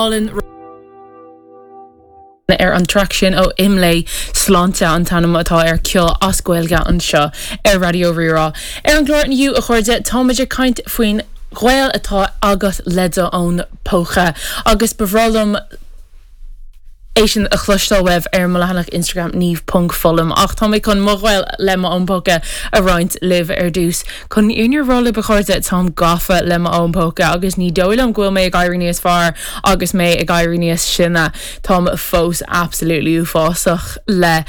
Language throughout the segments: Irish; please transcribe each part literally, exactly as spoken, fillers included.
Álainn ar an track sin ó Imlé sláinte an t-ainm atá ar ceol as Gaeilge anseo ar Raidió Rí-Rá. Ar an gclár inniu a chairde táimid ag caint faoin ghaol atá agat le do fhón póca agus ba bhreá liom é sin a chloisteáil uaibh ar mo leathanach Instagram niamh ponc foghlaim ach tá mé chun mo ghaol le mo fhón póca a roinnt libh ar dtús. Chun an rá libh a chairde táim gafa le mo fhón póca agus ní dóigh liom go bhfuil mé ag éirí níos fearr agus mé ag éirí níos sine Táim fós absolutely uafásach le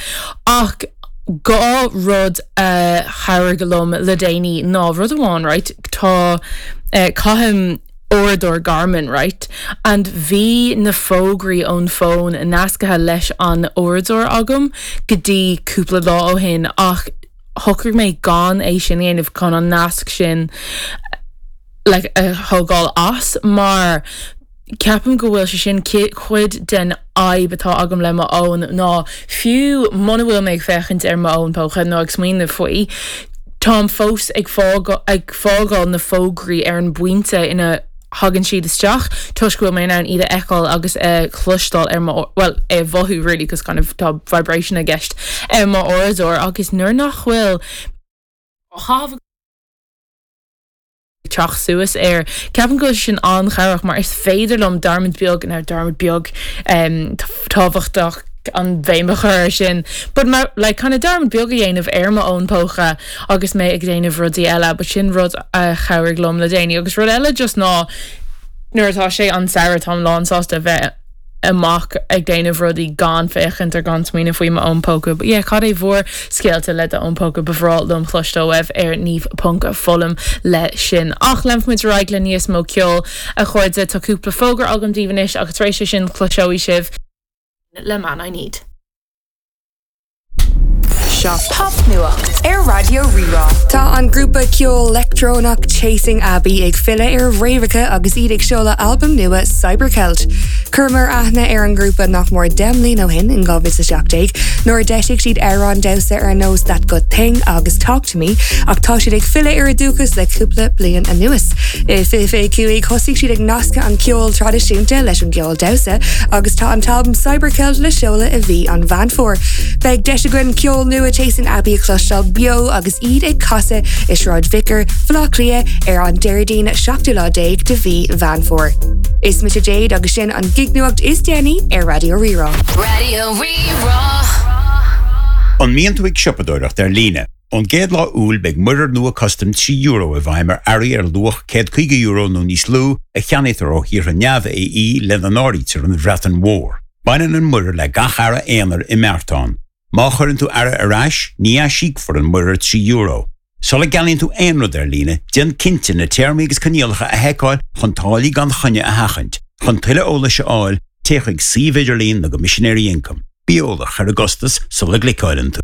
ach dhá rud a chabhraigh liom le déanaí ná rud amháin right tá uh, caithim uaireadóir Garmin right and bhí na fógraí ón fón nasctha leis an uaireadóir agam go dtí cúpla lá ó shin ach shocraigh mé gan é sin a dhéanamh chun an nasc sin like, a thógáil as mar ceapaim go bhfuil sé sin cuid den fhadhb atá agam le mo fhón ná fiú muna bhfuil mé ag féachaint ar m'fhón póca nó ag smaoineamh faoi, Táim fós ag ag fágáil na fógraí ar an bpointe ina thagann siad isteach toisc go bhfuil mé in ann iad a fheiceáil agus a chloisteáil ar mo well é mhothú really cos kind of tá vibration i gceist ar mo uaireadóir agus nuair nach bhfuil á teacht suas air. Ceapaim go sin an-chabhrach mar is féidir liom dearmad beag ná dearmad beag um, tábhachtach an bhéim a chur air sin. But ma, like, kind of dearmad beag a dhéanamh ar mo fhón póca agus mé ag déanamh rudaí eile, but sin rud a chabhraigh liom le déanaí agus rud eile just ná nuair atá sé an samhradh táim lánsásta bheith amach ag déanamh rudaí gan féachaint ar gan smaoineamh faoi m'fhón póca. But yeah, cad é bhur scéalta le d'fhón póca ba bhreá liom cloisteáil uaibh ar niamh ponc foghlaim le sin. Ach leanfaimid ar aghaidh le níos mó ceoil a chairde tá cúpla fógra agam daoibh anois agus tar éis sin cloisfidh sibh le Man I Need. Seo Popnuacht ar Raidió Rí-Rá. Tá an grúpa ceol leictreonach Chasing Abbey ag filleadh ar fhréamhacha agus iad ag seoladh albam nua Cybercelt. Chuireamar aithne ar an grúpa nach mór deich mbliana ó shin in dhá mhíle seacht déag, nuair a d'eisigh siad amhráin damhsa ar nós That Good Thing agus Talk to Me ach tá siad ag filleadh ar a dúchas le cúpla bliain anuas. I fiche cúig thosaigh siad ag nascadh an ceol traidisiúnta leis an gceol damhsa agus tá an t-albam Cybercelt le seoladh i mhí an Mheán Fómhair. Beidh deis againn ceol nua Chasing Abbey a chloisteáil beo agus iad ag casadh i Sráid Vicar Bhaile Átha Cliath ar an Déardaoin seachtú lá déag de mhí Mheán Fómhair. Is mise Jade agus sin an gignuacht is déanaí ar Raidió Rí-Rá. Raidió Rí-Rá. An mbíonn tú ag siopadóireacht ar líne. Ón gcéad lá Iúil beidh muirear nua custaim trí euro i bhfeidhm ar earraí ar luach céad caoga euro nó níos lú a cheannaítear ó thíortha neamh-AE lena n-áirítear an Bhreatain Mhór. Baineann an muirear le gach earra aonair i mbeartán. Má chuireann tú earra ar ais, ní aisíocfar an muirear trí euro. Sula gceannaíonn tú aon rud ar líne, déan cinnte na téarmaí agus coinníollacha a sheiceáil chun táillí gan choinne a sheachaint. Chun tuilleadh eolais a fháil, téigh chuig suíomh idirlín na gCoimisinéirí Ioncaim. Bí eolach ar an gcostas sula gcliceálann tú.